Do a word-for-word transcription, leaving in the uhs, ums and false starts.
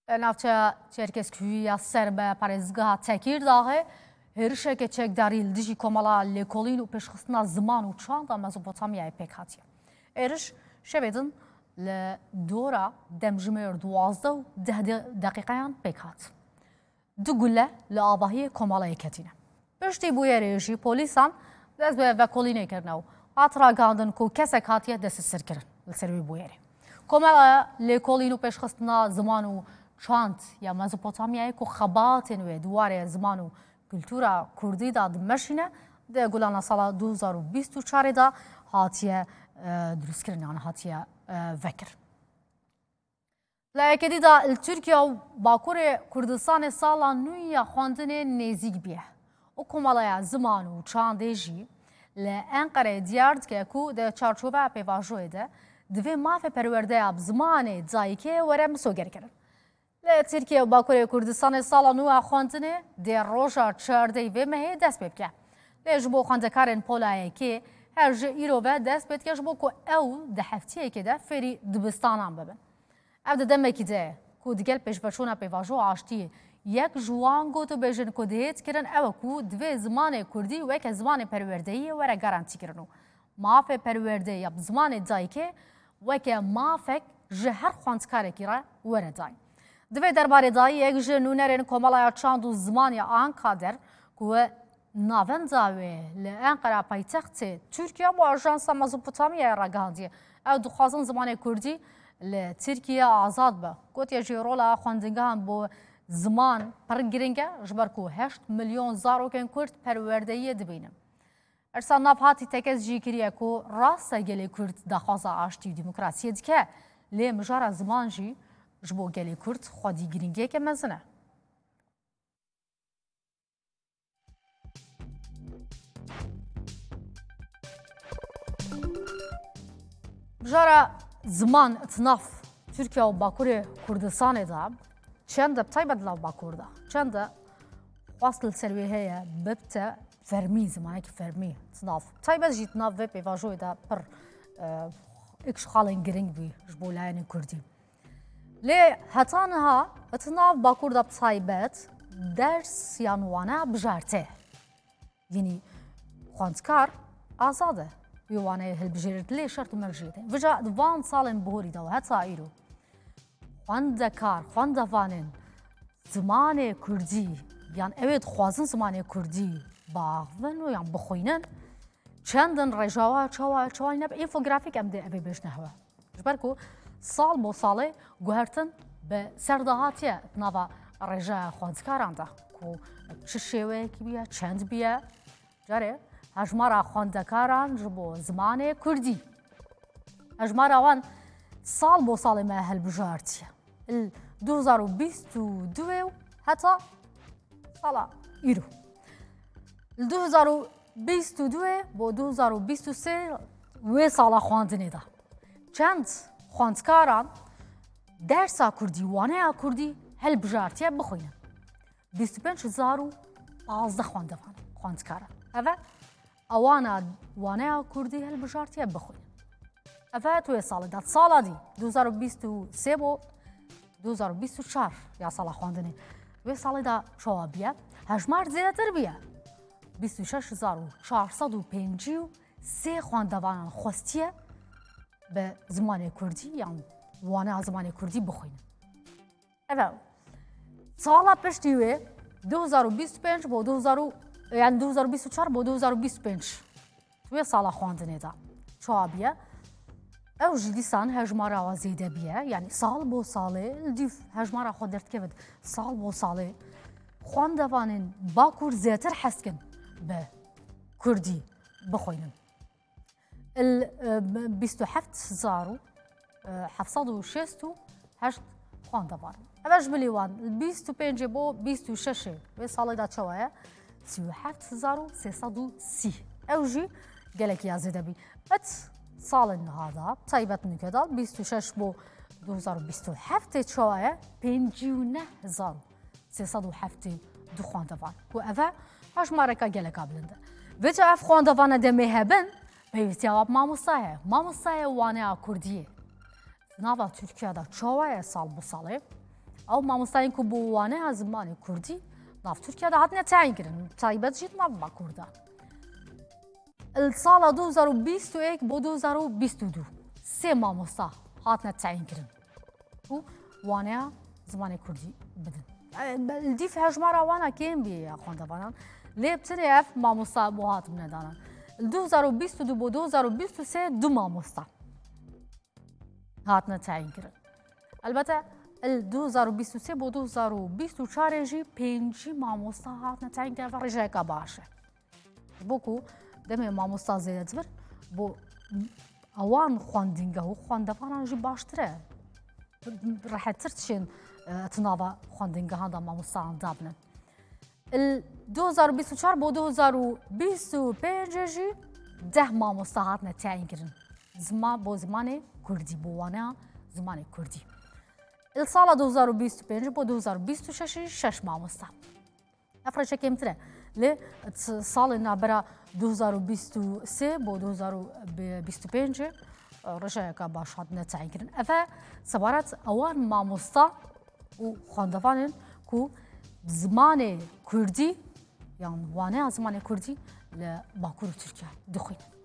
Li navçeya Çerkezkuyî ya ser bi parêzgeha Tekîrdağê hêrişeke çekdarî li dijî Komela Lêkolîn û Pêşxistina Ziman û Çanda Mezopotamyayê pêk hatiye. Êriş şevê din li dora demjimêr duwazdeh û deh de-, deqîqeyan pêk hat. Du gule li avahiyê komelayê ketîne. Piştî bûyerê jî polîsan dest bi vekolînê kirine û hat ragihandin ku kesek hatiye desthiserkirin li ser wê bûyerê. Komela Lêkolîn û Pêşxistina Ziman û Çand ya Mezopotamyayê ku xebatên wê di warê ziman û kultura kurdî de dimeşîne, di gulana sala du hezar û bîst û çarê de hatiye, e, dirustkirin, yan hatiye, e, vekirin. Li Ekedî de li Tirkiye û Bakurê Kurdistanê sala nû ya xwendinê nêzîk bûye û Komeleya Ziman û Çandê jî li Enqereyê diyar dike ku di çarçoveya pêvajoyê de divê mafê perwerdeya bi zimanê dayikê were misogerkirin. Li Tirkiye û Bakurê Kurdistanê sala nû ya xwendinê dê roja çardehê vê mehê dest pê bike. Lê ji bo xwendekarên pola yekê her ji îro ve dest pê dike, ji bo ku ew di heftiyekê de fêrî dibistanan bibin. Ev di demekî de ye ku digel pêşveçûna pêvajoya aştiyê yek ji wan gotûbêjên ku dihêt kirin ew e ku divê zimanê kurdî weke zimanê perwerdeyiyê were garantîkirin û mafê perwerdeyê ya bi zimanê dayikê weke mafek ji her xwendkarekî re were dayîn. Di vê derbarê de yek ji nûnerên Komeleya Çand û Ziman ya Ankader ku Navenda wê li Enqera paytextê Tirkiye bo Ajansa Mezopotamyayê ragihandiye. Ew dixwazin zimanê kurdî li Tirkiye azad be. Gotiye jî rola xwendingehan bo ziman pir giring e, ji ber ku heşt milyon zarokên kurd perwerdeyiyê dibînin. Ersa nav hatî tekez jî kiriye ku rast e gelê kurd daxwaza aştî û demokrasiyê dike, lê mijara ziman jî ji bo gelê kurd xwedî giringiyeke mezin e. Mijara ziman di nav Tirkiye û Bakurê Kurdistanê de çend e, bi taybet li nav Bakur de çend e xwest li ser wê heye bibte fermî, zimanekî fermî di nav, bi taybet jî di nav vê pêvajoyê de pir, e, îşxalên giring bû ji bo layenê kurdî. Lê heta niha di nav Bakur de bi taybet ders yan wane bijartê. Yanî xwendkar azad e wê waneyê hilbijêrit lê şert û mercê de. Vêca di van salên borî de û heta îro xwendekar, xwendevanên zimanê kurdî yan ew ê dixwazin zimanê kurdî biaxivin û yan bixwînin, çendin rêjeya çawa, çawa nebe, înfografîk em dê ev ê bêjine hewe. Ji ber ku sal bo salê guhertin bi ser de hatiye di nava rêjeya xwendekaran de, ku çi şêweyekî bûye, çend bûye. Carê hejmara xwendekaran ji bo zimanê kurdî, hejmara wan sal bo salê me hilbijartiye. Li du hezar û bîst û du û heta sala îro. Li du hezar û bîst û du bo du hezar û bîst û sê wê sala xwendinê de çend xwendkaran dersa kurdî, waneya kurdî hilbijartiye bixwînin? Bîst û pênc hezar û pazdeh xwendevan, xwendkaran. Ev e, ewana waneya kurdî hilbijartiye bixwînin. Ev e tu wê salê de. Sala dî, du hezar û bîst û sê bo du hezar û bîst û çar ya sala xwendinê. Wê salê de çawa bûye? Hejmar zêdetir bûye. Bîst û şeş hezar û çar sed û pêncî û sê xwendevanan xwestiye bi zimanê kurdî yan waneya zimanê kurdî bixwînin. Ev e. Sala piştî wê, du hezar û bîst û pênc bo du hezar û, yani du hezar û bîst û çar bo du hezar û bîst û pênc. Wê sala xwendinê de çawa bûye? Ew jî dîsan hejmara wa zêde bûye. Yani sal bo salê li dîv hejmara xwe derdikeve. Sal bo salê xwendevanên Bakur zêdetir hez dikin bi kurdî bixwînin. Il, e, bîst û heft hezar û, e, heft sed û şêst û heşt xwendevan. Ev e ji bilî wan, li bîst û pêncê bo bîst û şeşê wê salê de çawa ye? Sî û heft hezar û sê sed û sî. Ew jî gelekî ya zêde bî. It salên niha de, taybet nûke de, bîst û şeş bo du hezar û bîst û heftê çawa ye? Pêncî û neh hezar û sê sed û heftê du xwendevan. Ku ev e hejmareka geleka bilind e. Vêca ev xwendevane demê hebin, pêwîstiya wa bi mamosta heye. Mamosta ye waneya kurdiyê. Nava Tirkiye de çawa ye sal bi salê? Ew mamostayên ku bo waneya zimanê kurdî nav Tirkiye de hatine teyîn kirin, taybet jî di nav Bakur de. Li sala du hezar û bîst û yek bo du hezar û bîst û du sê mamosta hatine teyîn kirin ku waneya zimanê kurdî bidin. E, be-, li dîf hejmara wana kêm bî ya xwendevanan. Lê bi tenê ev mamosta bo hatibûne danan. Li du hezar û bîst û du bo du hezar û bîst û sê du mamosta hatine teyîn kirin. Elbete, li du hezar û bîst û sê bo du hezar û bîst û çar jî pêncî mamosta hatine teyîn kirin, ev rêjeyeka baş e. Ji bo ku demê mamosta zêde dibir, bo ewan xwendîngeha û xwendevanan jî baştir e. Rehettir tişên, e, di nava xwendîngehan de mamostayan dabinin. Li du hezar û bîst û çar bo du hezar û bîst û pênc jî deh mamosta hatine teyîn kirin. Zima-, bo zimanê kurdî, bo waneya zimanê kurdî. Li sala du hezar û bîst û pênc bo du hezar û bîst û şeş jî şeş mamosta. Ev rêje kêmtir e. Lê t-, salên navbera du hezar û bîst û sê bo du hezar û bîst û pênc rêjeyeka baş hatine teyîn kirin. Ev e sebaret ewan mamosta û xwendevanên ku zimanê kurdî yan waneya zimanê kurdî li Bakur û Tirkiye dixwînin.